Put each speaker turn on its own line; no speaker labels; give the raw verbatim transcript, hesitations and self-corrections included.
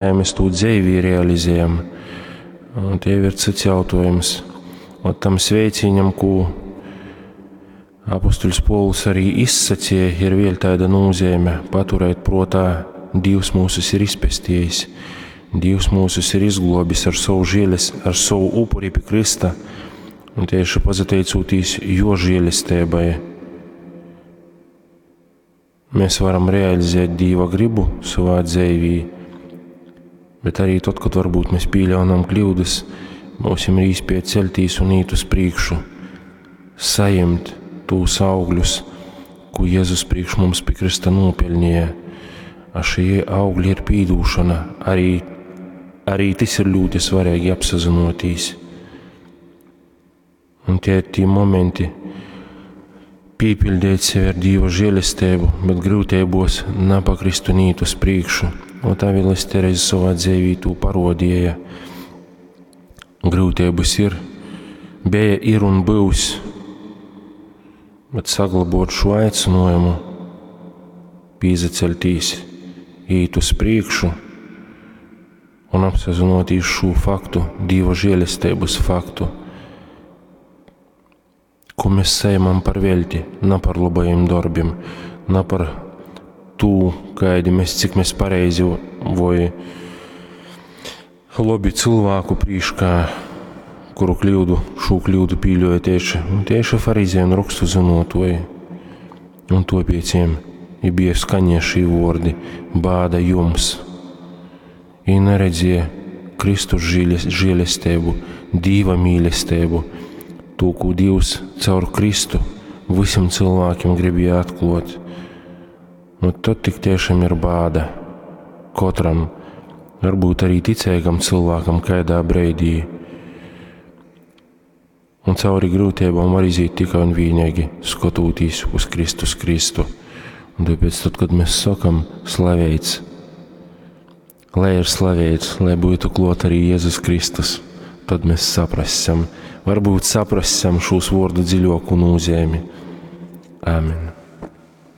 Mēs tū dzeivī realizējam, un tie ir cits jautājums. Un tam sveicīņam, ko apostuļs Povuls arī izsacīja, ir vēl tāda nozīme paturēt prātā, Dievs mūsus ir izpestījis, Dievs mūsus ir izglobis ar savu žēles, ar savu upuri pie Krista, un tieši pazateicūtīs jo žēlestībai, mēs varam realizēt Dieva gribu savā dzīvī. Bet arī tad, kad varbūt mēs pieļaunam kļūdas, mums ir īspēja celtīs un īt uz priekšu, saņemt tūs augļus, ko Jēzus priekš mums pie Krista nopelnīja. A šie augļi ir pīdūšana, arī, arī tas ir ļoti svarīgi apsazinotīs. Un tie ir tie momenti, pīpildīt sevi ar Dieva žēlestību, bet grūtībos napakrist un īt uz priekšu. Un tā Vīles Tereze savā dzīvī to parodīja. Grūtības ir, bija, ir un būs, bet saglabot šo aicinājumu, pīzaceļtīs, īt uz priekšu un apsazinoties šo faktu, Dieva žēlestības faktu, ko mēs saņemam par velti, ne par labajiem darbiem, ne par tū, kādi mēs, cik mēs pareizi vai labi cilvēku prīškā, kuru kļūdu, šo kļūdu pīļoja tieši, tieši farizēji un rakstu zinotoji. Un to pēc viņiem i bija skaņie šī vordi bāda jums. I neredzēja Kristus žēlestību, Dieva mīlestību, to, ko Dievs caur Kristu visiem cilvēkiem gribēja atklāt. Nu, tad tik tiešām ir bāda katram, varbūt arī ticīgam cilvēkam kādā brīdī. Un cauri grūtībām var iziet tikai un vienīgi skatoties uz Kristus Kristu. Un tāpēc tad, kad mēs sakam slavēts, lai ir slavēts, lai būtu klāt arī Jēzus Kristus, tad mēs saprasam, varbūt saprasam šos vārdu dziļāku nozīmi. Āmen.